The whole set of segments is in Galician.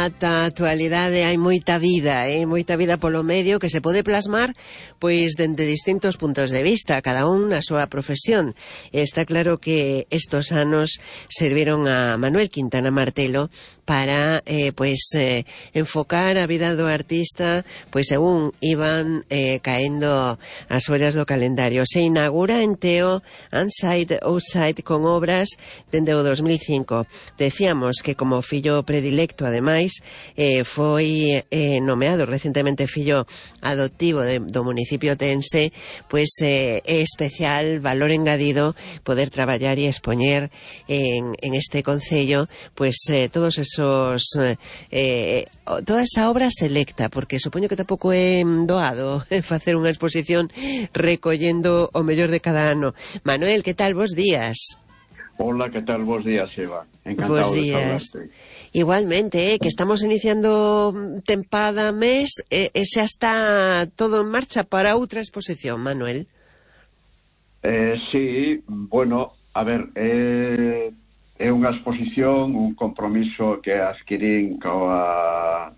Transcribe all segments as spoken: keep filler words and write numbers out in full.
ata a actualidade hai moita vida, eh? moita vida polo medio que se pode plasmar pois dende distintos puntos de vista, cada un na súa profesión. Está claro que estos anos serviron a Manuel Quintana Martelo para eh, pois eh, enfocar a vida do artista pois según iban eh, caendo as follas do calendario. Se inaugura en Teo Inside Outside con obras dende o dos mil cinco. Decíamos que como fillo predilecto, ademais, eh, foi eh, nomeado recentemente fillo adoptivo de, do municipio tense, pois eh, é especial valor engadido poder traballar e expoñer en, en este concello pois eh, todos esos eh, toda esa obra selecta, porque supoño que tampouco é doado facer unha exposición recollendo o mellor de cada ano. Manuel, que tal? Bos días. Hola, ¿qué tal? Bos días, Eva. Encantado Bos días. de saludarte. Igualmente, eh, que estamos iniciando tempada mes e eh, xa está todo en marcha para outra exposición, Manuel. Eh, sí, bueno, a ver, eh, é unha exposición, un compromiso que adquirín coa,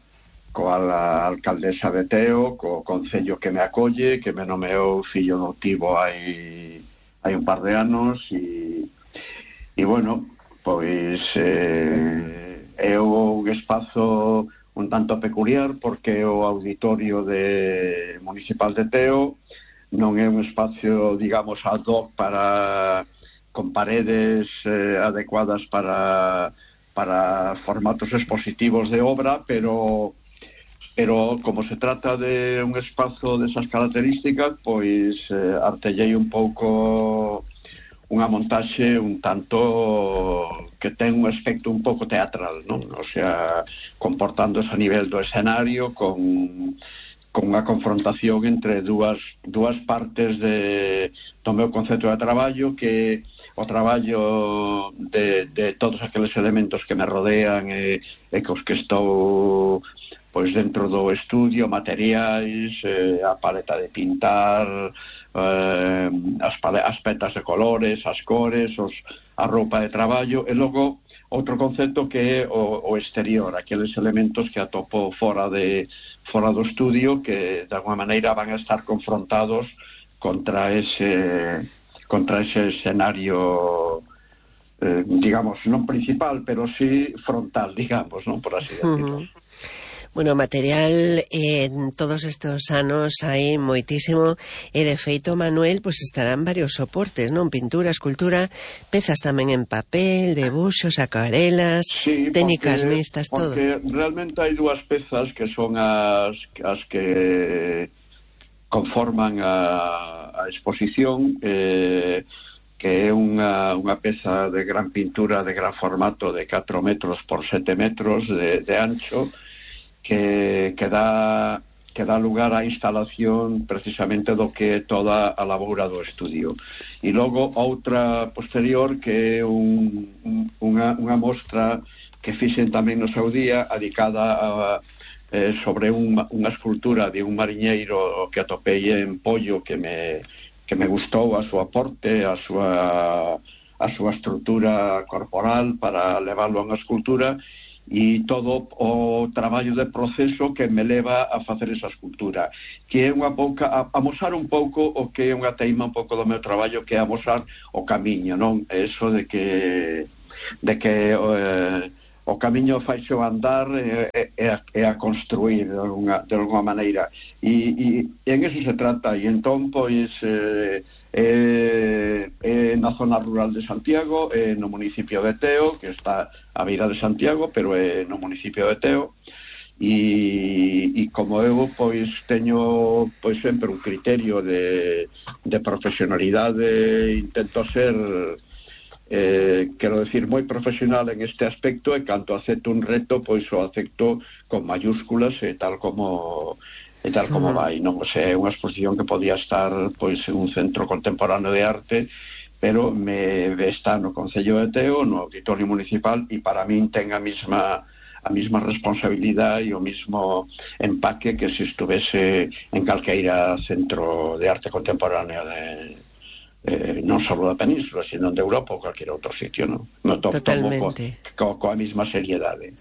coa a alcaldesa de Teo, co concello que me acolle, que me nomeou fillo adoptivo hai, hai un par de anos, e E, bueno, pois eh, é un espazo un tanto peculiar porque o auditorio de municipal de Teo non é un espacio, digamos, ad hoc para con paredes eh, adecuadas para para formatos expositivos de obra, pero pero como se trata de un espazo desas características, pois eh, artellei un pouco unha montaxe un tanto que ten un aspecto un pouco teatral, non? O sea, comportándose a nivel do escenario con, con unha confrontación entre dúas, dúas partes de, do meu concepto de traballo, que o traballo de, de todos aqueles elementos que me rodean e, e cos que estou pois dentro do estudio, materiais, eh, a paleta de pintar, eh, as, as petas de colores, as cores, os, a roupa de traballo, e logo outro concepto que é o, o exterior, aqueles elementos que atopo fora de fora do estudio, que de alguma maneira van a estar confrontados contra ese contra ese escenario, eh, digamos, non principal, pero sí frontal, digamos, non, por así decirlo. Uh-huh. Bueno, material en todos estos anos hai moitísimo e de feito, Manuel, pois estarán varios soportes, non? Pintura, escultura, pezas tamén en papel, debuxos, acuarelas, sí, técnicas porque, mixtas, todo. Porque realmente hai dúas pezas que son as, as que conforman a, a exposición, eh, que é unha, unha peza de gran pintura, de gran formato, de catro metros por sete metros de, de ancho, que, que, dá, que dá lugar á instalación precisamente do que é toda a labora do estudio. E logo outra posterior que é un, un, unha, unha mostra que fixen tamén no seu día, dedicada a, eh, sobre un, unha escultura de un mariñeiro que atopei en Pollo, que me, que me gustou a súa porte, a súa, a súa estrutura corporal para leválo a unha escultura, e todo o traballo de proceso que me leva a facer esa escultura, que é unha pouca, a, a mostrar un pouco o que é unha teima un pouco do meu traballo, que é a mostrar o camiño, non? Eso de que de que eh, o camiño faise o andar e, e, a, e a construir de alguna, de alguna maneira, e, e, e en eso se trata. E entón, pois eh, eh, eh, na zona rural de Santiago, eh, no municipio de Teo, que está a beira de Santiago, pero é eh, no municipio de Teo, e, e como eu pois teño pois sempre un criterio de, de profesionalidade, intento ser Eh, quero decir, moi profesional en este aspecto, e canto acepto un reto, pois o acepto con mayúsculas e tal como e tal como vai, non? O sea, é unha exposición que podía estar pois en un centro contemporáneo de arte, pero me está no Concello de Teo, no Auditorio Municipal, e para min ten a mesma a mesma responsabilidade e o mesmo empaque que se estuvese en calqueira centro de arte contemporánea de eh, non só da península, sino de Europa ou cualquier outro sitio, non? No to Totalmente. Co, co, coa mesma seriedade.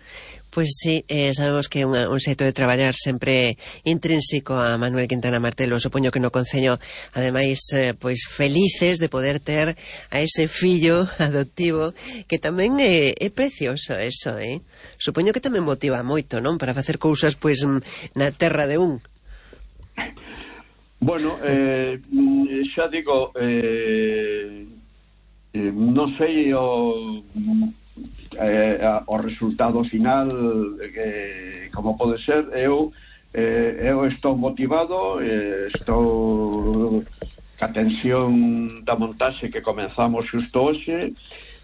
Pois sí, eh, sabemos que é unha, un xeito de traballar sempre intrínseco a Manuel Quintana Martelo. Supoño que no Concello, ademais, eh, pois felices de poder ter a ese fillo adoptivo, que tamén é, é precioso eso, eh? Supoño que tamén motiva moito, non? Para facer cousas, pois, na terra de un. Bueno, eh, xa digo, eh, eh, non sei o... Eh, o resultado final eh, como pode ser. Eu eh, eu estou motivado, eh, estou ca tensión da montaxe que comenzamos xusto hoxe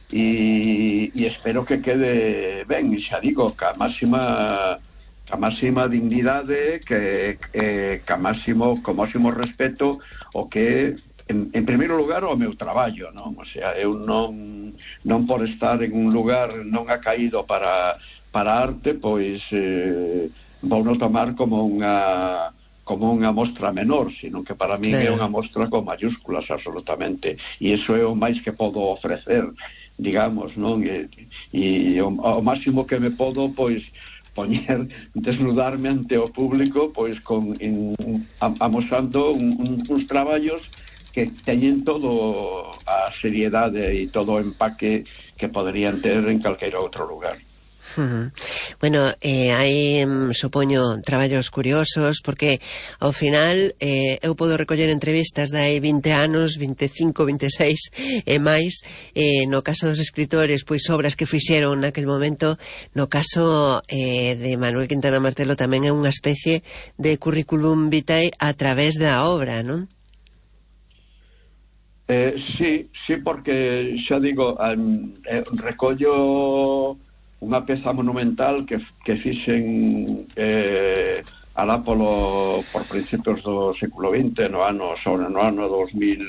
e, e espero que quede ben, e xa digo, ca máxima ca máxima dignidade, que eh, ca máximo, co máximo respeto o que En, en primeiro lugar o meu traballo, non? O sea, eu non non por estar en un lugar non ha caído para para arte, pois eh, vou non tomar como unha como unha mostra menor, sino que para mí claro, é unha mostra con mayúsculas absolutamente, e iso é o máis que podo ofrecer, digamos, non? E, e o, o máximo que me podo, pois poñer, desnudarme ante o público, pois con in, amosando un, un, uns traballos que teñen todo a seriedade e todo o empaque que poderían ter en calqueira outro lugar. Uh-huh. Bueno, eh, hai, supoño, traballos curiosos, porque ao final eh, eu podo recoller entrevistas de hai vinte anos, veinticinco, veintiséis e máis, eh, no caso dos escritores, pois obras que fixeron naquel momento. No caso eh, de Manuel Quintana Martelo tamén é unha especie de currículum vitae a través da obra, non? Eh, sí, sí, porque xa digo, um, eh, recollo unha peza monumental que, que fixen eh, alá polo, por principios do século vinte, no ano, sobre no ano dos mil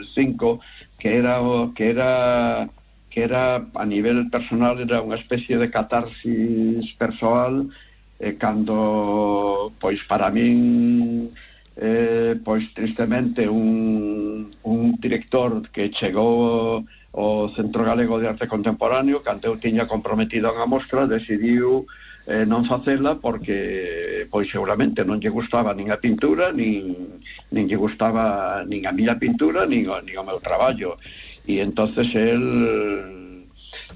cinco, que era que era que era a nivel personal, era unha especie de catarsis persoal, eh, cando, pois para min, Eh, pois tristemente un, un director que chegou ao Centro Galego de Arte Contemporáneo, cando eu tiña comprometido unha mostra, decidiu eh, non facela porque pois seguramente non lle gustaba nin a pintura, nin, nin lle gustaba nin a miña pintura, nin o, nin o meu traballo, e entonces el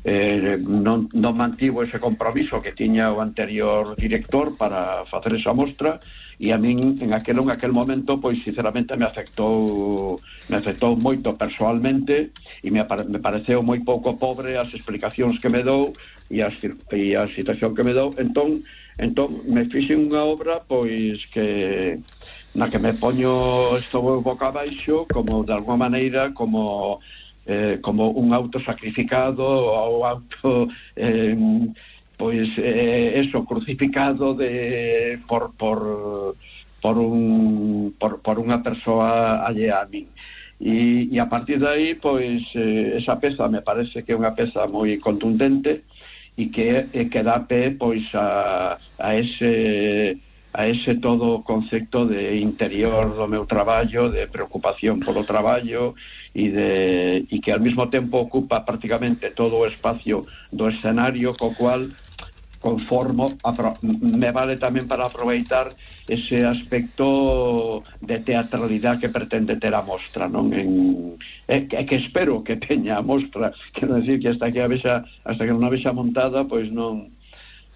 eh, non, non mantivo ese compromiso que tiña o anterior director para facer esa mostra. E a min en aquel, en aquel momento, pois sinceramente me afectou me afectou moito persoalmente, e me, me pareceu moi pouco pobre as explicacións que me dou e, as, e a situación que me dou. Entón, entón me fixen unha obra pois que na que me poño estou boca abaixo, como de alguma maneira como eh, como un auto sacrificado ou auto eh, pois eh, eso, crucificado de por por por un por, por unha persoa allea a min. E, e a partir de aí, pois eh, esa peza me parece que é unha peza moi contundente e que e que dá pé pois a a ese a ese todo concepto de interior do meu traballo, de preocupación polo traballo e de e que ao mesmo tempo ocupa prácticamente todo o espacio do escenario, co cual conformo, me vale tamén para aproveitar ese aspecto de teatralidade que pretende ter a mostra, non? En, é, é que espero que teña a mostra, quero decir que hasta que a vexa, hasta que non a vexa montada, pois non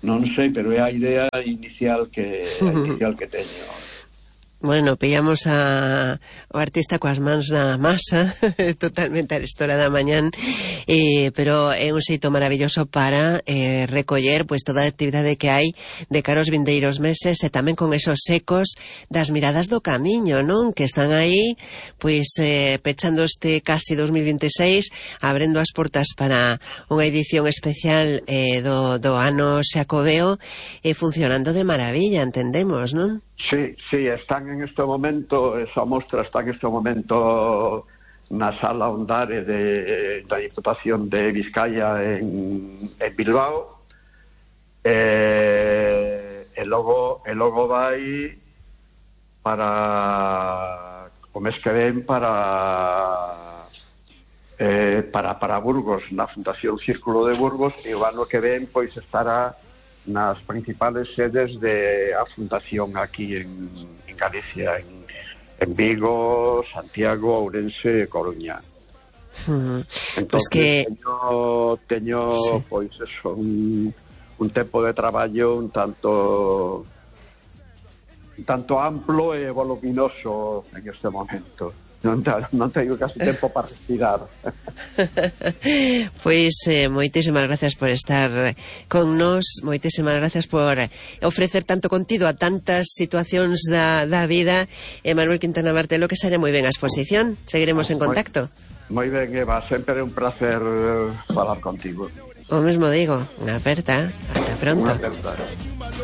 non sei, pero é a idea inicial que a inicial que teño. Bueno, pillamos a o artista coas mans na masa, totalmente a história da mañán, eh, pero é un xeito maravilloso para eh, recoller pois toda a actividade que hai de cara aos vindeiros meses, e tamén con esos ecos das miradas do camiño, non? Que están aí, pois eh, pechando este casi dos mil veintiséis, abrendo as portas para unha edición especial eh, do, do ano xacobeo, e eh, funcionando de maravilla, entendemos, non? Sí, sí, están en este momento, esa mostra está en este momento na sala Ondare de, da Diputación de Vizcaya en, en Bilbao, e, e logo e logo vai para o mes que ven para eh, para, para Burgos na Fundación Círculo de Burgos, e o ano que ven pois estará nas principales sedes de a Fundación aquí en, en Galicia, en, en Vigo, Santiago, Ourense e Coruña. Uh-huh. Entón, pues que... teño, teño sí. pois eso, un, un tempo de traballo un tanto un tanto amplo e voluminoso en este momento. Non, non teño casi tempo para respirar. Pois eh, moitísimas gracias por estar con nos, moitísimas gracias por ofrecer tanto contido a tantas situacións da, da vida. E Manuel Quintana Martelo, que saia moi ben a exposición. Seguiremos en contacto. Moi ben, Eva, sempre é un placer falar contigo. O mesmo digo, unha aperta. Ata pronto. Unha aperta.